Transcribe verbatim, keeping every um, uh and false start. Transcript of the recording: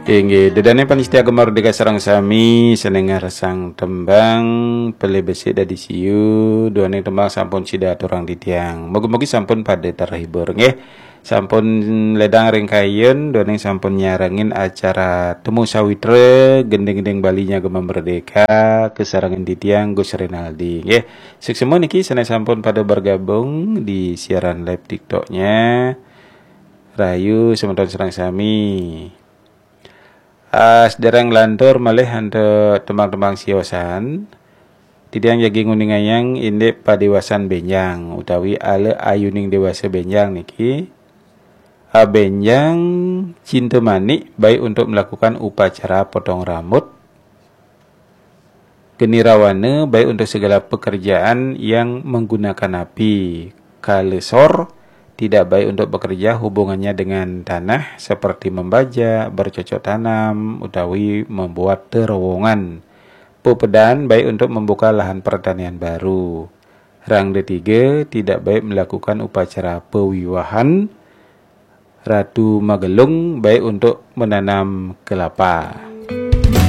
Inggih, ida dané pamiarsa Gema Merdeka sareng sami, sané ngarsang tembang Pelih Besik Dadi Siu, duaning tembang sampun sida aturang titiang. Mugi-mugi sampun pada terhibur, nggih. Sampun ledang ring kayun, duaning sampun nyarengin acara Temu Sawitra, gending-gending Bali nya Gema Merdeka, kasarengin titiang Gus Rinaldi, nggih. Suksma niki sané sampun pada bergabung di siaran live TikTok-nya. Rahayu semeton sareng sami. Ah, sedereng lantur malih antuk tembang-tembang siosan, titiang jagi nguningayang indik padéwasan bénjang utawi ala ayuning déwasa bénjang niki. Ah, bénjang Cinta Manik baik untuk melakukan upacara potong rambut, Geni Rawana baik untuk segala pekerjaan yang menggunakan api. Kala Sor tidak baik untuk bekerja, hubungannya dengan tanah seperti membajak, bercocok tanam, utawi membuat terowongan. Pepedan baik untuk membuka lahan pertanian baru. Rangda Tiga tidak baik melakukan upacara pewiwahan. Ratu Magelung baik untuk menanam kelapa.